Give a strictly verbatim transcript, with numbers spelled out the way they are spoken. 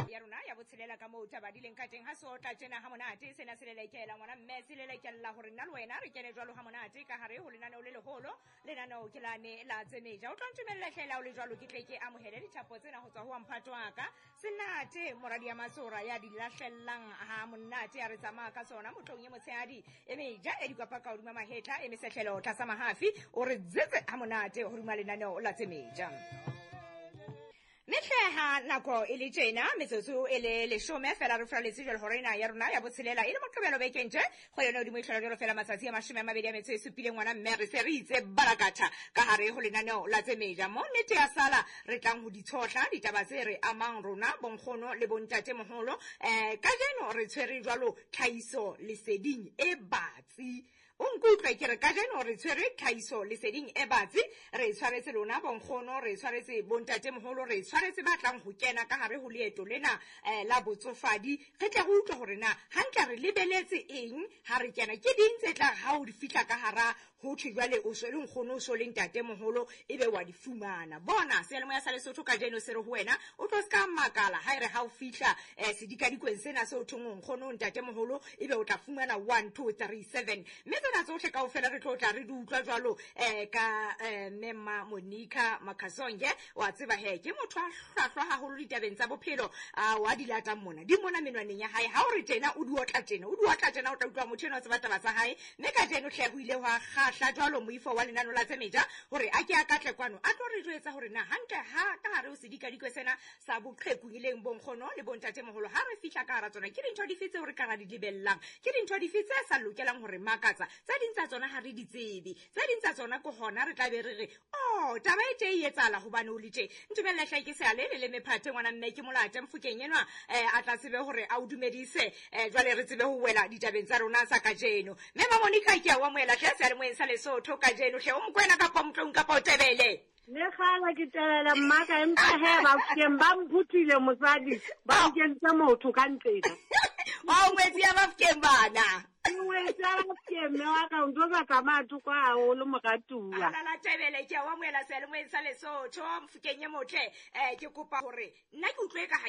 Ya rona ya botshelela ka moo taba di leng ka teng ha se otla tjena ha monate sena se lelekela ngwana mme se lelekella hore nna le wena re kene jwalo ha monate ka hare ho lenaneo le leholo lenaneo ke lane la tsemeja. O tlo ntumella hlela o le jwalo ke tle ke amohele dithapo tsena ho tswa ho mphato wa ka Senate moradi ya Matsora ya di lahlellang ha monate ya re tsamaya ka tsona motlong e motshehadi e meja e dikwapa ka hodima mahetla e mesehlelo tlasa mahafi o re tsetse ha monate hodima lenaneo la tsemeja. Mehleha nako e le tjena metsotso e le leshome fela re fraletse jwale hore ena ya rona ya botshelela e le moqebelo bekeng tje go yona hodimo e hlola jwalo fela matsatsi a mashome a mabedi a metso e supileng ngwana mme re se re itse barakatha ka hare ho lenaneo la tsemeja mo nnete ya sala re tlang ho ditshohla ditaba tse re amang rona bonkgono le bontate moholo. Eh kajeno re tshwere jwalo tlhahiso leseding e batsi. O nkutlwe ke re kajeno re tshwere tlhahiso leseding e batsi re tshwaretse lona bonkgono re tshwaretse bontate moholo re tshwaretse ba tlang ho kena ka hare ho leeto lena eh, la botsofadi re tle re utlwe hore na hantle re lebeletse eng ha re kena ke ding tse tla ha o di fihla ka hara ho thwe jwale o so le nkgono o so le ntate moholo ebe wa di fumana. Bona seyalemoya sa Lesotho kajeno se re ho wena o tlo ska makala ha ere ha o fihla eh, sedikadikweng sena se o thong nkgono ntate moholo ebe o tla fumana one two three seven mme tsena tsohle kaofela re tlo tla re di utlwa jwalo eh, ka eh, Mema Monica Makasonge wa tseba he ke motho a hlwahlwa haholo ditabeng tsa bophelo a wa di latang mona di mona menwaneng ya hae ha o re tjena o di otla tjena o di otla tjena o tla utlwa motho ena o tseba taba tsa hae mme kajeno hle ho ile hwa kgahla jwalo moifo wa lenano la tsemeja hore a ke a katle kwano a tlo re jwetsa hore na hantle ha ka hare ho sedikadikwe sena sa boqheku ileng bonkgono le bontate moholo ha re fihla ka hara tsona ke dintho dife tseo re ka ra di lebellang ke dintho dife tse sa lokelang hore makatsa tse ding tsa tsona ha re di tsebe tse ding tsa tsona ke hona re tla be re re oh taba e tje e etsahala hobane o le tje. Ntumella hle ke se ale le le mephate ngwana mme ke molate mfokeng enwa eh, a tla tsebe hore a o dumedise eh, jwale re tsebe ho wela ditabeng tsa rona tsa kajeno. Mme Monica ke a o amohela hle seyalemoyeng sa Lesotho kajeno hle o Mokwena kapa Motlong kapa o Tebele. Le kgala ke Tebele mmaka empa he ba keng ba mphuthile mosadi ba nkentse motho ka ntlena. Wa ngwetsi ya Bafokeng bana. Ngwetsi ya Bafokeng mme wa ka o ntso sa tsamaya thoko haholo moratuwa. Alala Tebele ke a o amohela seyalemoyeng sa Lesotho mfokeng e motle eh ke kopa hore nna ke utlwe ka ha